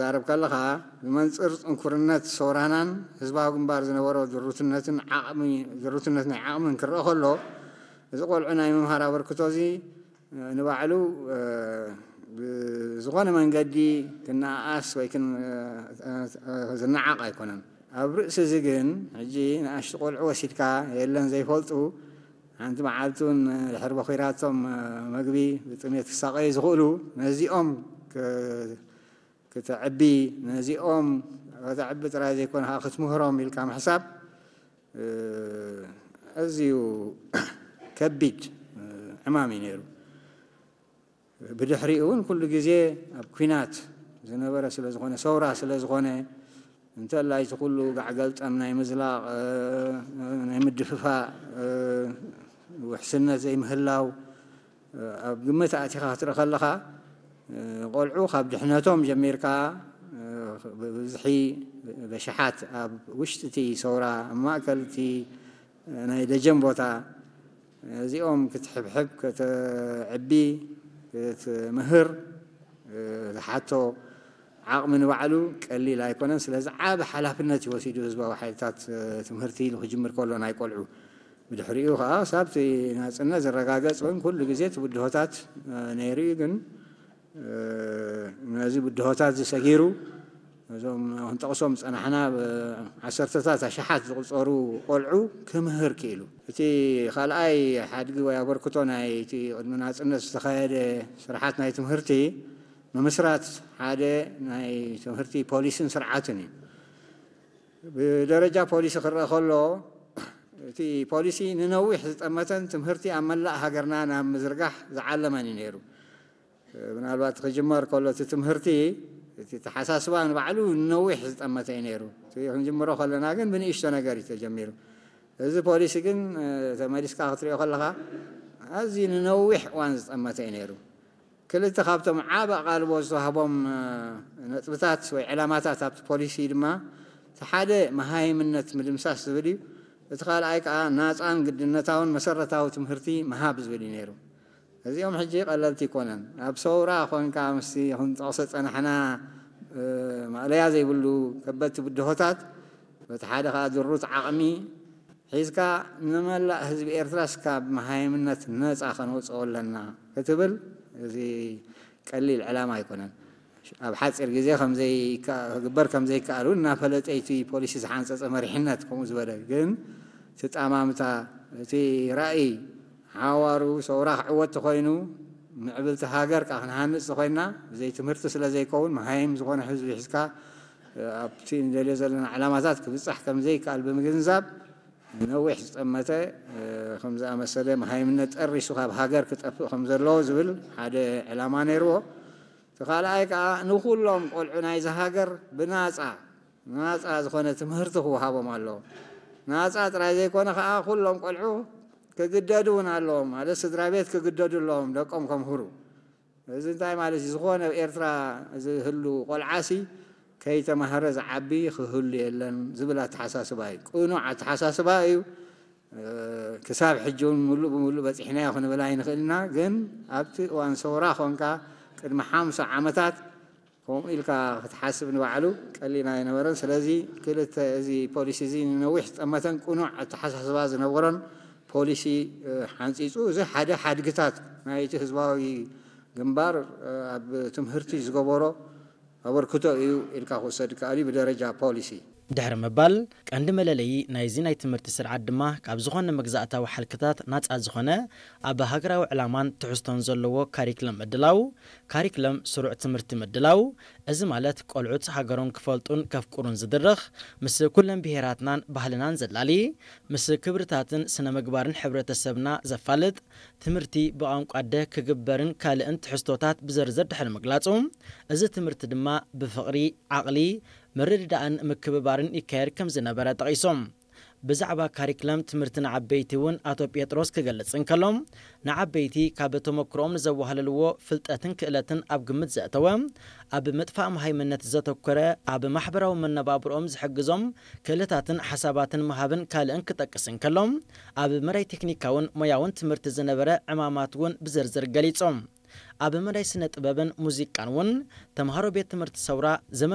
ትዛረብ ከለኻ፣ ብመንጽር ጽንኩርነት ሰውራናን ህዝባዊ ግንባር ዝነበሮ ድሩትነትን ዓቕሚ፣ ድሩትነት ናይ ዓቕምን ክረአ ከሎ፣ እዚ ቆልዑ ናይ ምምሃር ኣበርክቶ እዚ ንባዕሉ፣ እ፣ ብዝኾነ መንገዲ ክነኣኣስ ወይ ክን-፣ እ፣ እ፣ ዝነዓቕ ኣይኮነን። ኣብ ርእሲ እዚ ግን፣ ሕጂ ንኣሽቱ ቆልዑ ወሲድካ፣ የለን ዘይፈልጡ፣ ሓንቲ መዓልቲ እውን ድሕሪ በኺራቶም፣ እ፣ መግቢ ብጥሜት ክሳቐዩ ዝኽእሉ፣ ነዚኦም ክ-፣ ክተዕቢ፣ ነዚኦም ከተዕቢ ጥራይ ዘይኮነ፣ ከዓ ክትምህሮም ኢልካ ምሕሳብ፣ እ፣ ኣዝዩ ከቢድ፣ እ፣ ዕማም እዩ ነይሩ። ብድሕሪኡ እውን ኩሉ ግዜ ኣብ ኲናት ዝነበረ ስለ ዝኾነ፣ ሰውራ ስለ ዝኾነ፣ እንተላይ እቲ ኩሉ ጋዕ ገልጠም ናይ ምዝላቕ፣ እ፣ ናይ ምድፍፋእ፣ እ፣ ውሕስነት ዘይምህላው፣ እ፣ ኣብ ግምት ኣእቲኻ ክትርኢ ከለኻ፣ እ፣ ቆልዑ ካብ ድሕነቶም ጀሚርካ፣ እ፣ ብብዝሒ በሽሓት ኣብ ውሽጢ እቲ ሰውራ፣ ኣብ ማእከል እቲ ናይ ደጀን ቦታ፣ እዚኦም ክትሕብሕብ፣ ከተዕቢ፣ ክትምህር፣ እ፣ ዝሓቶ ዓቕሚ ንባዕሉ ቀሊል ኣይኮነን። ስለዚ ዓቢ ሓላፍነት እዩ ወሲዱ ህዝባዊ ሓይልታት፣ እ፣ ትምህርቲ ኢሉ ክጅምር ከሎ ናይ ቆልዑ። ብድሕሪኡ ከኣ ሳብቲ ናጽነት ዝረጋገጽ እውን ኩሉ ግዜ እቲ ብድሆታት፣ እ፣ ነይሩ እዩ። ግን፣ እ፣ ነዚ ብድሆታት እዚ ሰጊሩ፣ እዞም ክንጠቕሶም ዝጸናሕና ብዓሰርተታት ኣሽሓት ዝቑጸሩ ቆልዑ ክምህር ክኢሉ። እቲ ካልኣይ ሓድጊ ወይ ኣበርክቶ ናይ እቲ ቅድሚ ናጽነት ዝተኻየደ ስርሓት ናይ ትምህርቲ፣ ምምስራት ሓደ ናይ ትምህርቲ ፖሊስን ስርዓትን እዩ። ብደረጃ ፖሊሲ ክረአ ከሎ፣ እቲ ፖሊሲ ንነዊሕ ዝጠመተን ትምህርቲ ኣብ መላእ ሃገርና ናብ ምዝርጋሕ ዝዓለመን እዩ ነይሩ። ምናልባት ክጅመር ከሎ እቲ ትምህርቲ፣ እቲ ተሓሳስባ ንባዕሉ ንነዊሕ ዝጠመተ እዩ ነይሩ። እቲ ክንጅምሮ ከለና ግን ብንእሽቶ ነገር እዩ ተጀሚሩ። እዚ ፖሊሲ ግን፣ እ፣ ተመሊስካ ክትሪኦ ከለኻ፣ ኣዝዩ ንነዊሕ እዋን ዝጠመተ እዩ ነይሩ። ክልተ ካብቶም ዓቢ ኣቓልቦ ዝተዋህቦም፣ እ፣ ነጥብታት ወይ ዕላማታት ኣብቲ ፖሊሲ ድማ፣ እቲ ሓደ መሃይምነት ምድምሳስ ዝብል እዩ። እቲ ካልኣይ ከኣ ናጻን ግድነታውን መሰረታዊ ትምህርቲ ምሃብ ዝብል እዩ ነይሩ። እዚኦም ሕጂ ቀለልቲ ኣይኮነን። ኣብ ሰውራ ኾንካ ምስቲ ክንጠቕሶ ጸናሕና፣ እ፣ ማእለያ ዘይብሉ ከበድቲ ብድሆታት፣ በቲ ሓደ ከኣ ድሩት ዓቕሚ ሒዝካ፣ ንመላእ ህዝቢ ኤርትራስ ካብ መሃይምነት ነጻ ከነውጽኦ ኣለና ክትብል፣ እዚ ቀሊል ዕላማ ኣይኮነን። ኣብ ሓጺር ግዜ ከም ዘይከ-፣ ክግበር ከም ዘይከኣል እውን እናፈለጠ እቲ ፖሊሲ ዝሓንጸጸ መሪሕነት ከምኡ ዝበለ። ግን እቲ ጣማምታ፣ እቲ ራእይ ሓዋሩ ሰውራ ክዕወት ተኾይኑ፣ ምዕብልቲ ሃገር ከኣ ክንሃንጽ ተኾይንና፣ ብዘይ ትምህርቲ ስለ ዘይከውን፣ መሃይም ዝኾነ ህዝቢ ሒዝካ፣ ኣብቲ ንደልዮ ዘለና ዕላማታት ክብጻሕ ከም ዘይከኣል ብምግንዛብ፣ ነዊሕ ዝጠመተ፣ እ፣ ከም ዝኣመሰለ መሃይምነት ጠሪሱ ካብ ሃገር ክጠፍእ ከም ዘለዎ ዝብል ሓደ ዕላማ ነይርዎ። እቲ ካልኣይ ከኣ ንኹሎም ቆልዑ ናይዚ ሃገር ብናጻ፣ ናጻ ዝኾነ ትምህርቲ ክወሃቦም ኣለዎ። ናጻ ጥራይ ዘይኮነ ከኣ ኩሎም ቆልዑ ክግደዱ እውን ኣለዎም። ማለት ስድራ ቤት ክግደዱ ኣለዎም ደቆም ከምህሩ። እዚ እንታይ ማለት እዩ? ዝኾነ ኣብ ኤርትራ ዝህሉ ቆልዓሲ ከይተማህረ ዝዓቢ ክህሉ የለን ዝብል ኣተሓሳስባ እዩ። ቅኑዕ ኣተሓሳስባ እዩ። እ፣ ክሳብ ሕጂ እውን ምሉእ ብምሉእ በጺሕናዮ ክንብል ኣይንኽእል ኢና። ግን ኣብቲ እዋን ሰውራ ኾንካ ቅድሚ ሓምሳ ዓመታት ከምኡ ኢልካ ክትሓስብ ንባዕሉ ቀሊል ኣይነበረን። ስለዚ ክልተ፣ እዚ ፖሊሲ እዚ ንነዊሕ ዝጠመተን ቅኑዕ ኣተሓሳስባ ዝነበሮን ፖሊሲ፣ እ፣ ሓንጺጹ፣ እዚ ሓደ ሓድግታት ናይቲ ህዝባዊ ግንባር፣ እ፣ ኣብ ትምህርቲ ዝገበሮ ኣበርክቶ እዩ ኢልካ ክውሰድ ይከኣል እዩ ብደረጃ ፖሊሲ። ድሕሪ ምባል፣ ቀንዲ መለለዪ ናይዚ ናይ ትምህርቲ ስርዓት ድማ ካብ ዝኾነ መግዛእታዊ ሓልክታት ናጻ ዝኾነ፣ ኣብ ሃገራዊ ዕላማን ትሕዝቶን ዘለዎ ካሪክለም ምድላው፣ ካሪክለም ስሩዕ ትምህርቲ ምድላው፣ እዚ ማለት ቆልዑት ሃገሮም ክፈልጡን ከፍቅሩን ዝድርኽ፣ ምስ ኩለን ብሄራትናን ባህልናን ዘላሊ፣ ምስ ክብርታትን ስነ ምግባርን ሕብረተሰብና ዘፋልጥ፣ ትምህርቲ ብቋንቋ ኣደ ክግበርን ካልእን ትሕዝቶታት ብዝርዝር ድሕሪ ምግላጹ፣ እዚ ትምህርቲ ድማ ብፍቕሪ፣ ዓቕሊ፣ ምርድዳእን ምክብባርን ይካየድ ከም ዝነበረ ጠቒሶም። ብዛዕባ ካሪክለም ትምህርቲ ንዓበይቲ እውን ኣቶ ጴጥሮስ ክገልጽ እንከሎ፣ ንዓበይቲ ካብ ተመክሮኦም ንዘዋህለልዎ ፍልጠትን ክእለትን ኣብ ግምት ዘእተወ፣ ኣብ ምጥፋእ መሃይምነት ዘተኮረ፣ ኣብ ማሕበራዊ መነባብሮኦም ዝሕግዞም ክእለታትን ሓሳባትን ምሃብን ካልእን ክጠቅስ እንከሎ፣ ኣብ መዳይ ቴክኒካውን ሞያውን ትምህርቲ ዝነበረ ዕማማት እውን ብዝርዝር ገሊጾም። ኣብ መዳይ ስነ ጥበብን ሙዚቃን እውን ተምሃሮ ቤት ትምህርቲ ሰውራ ዘመን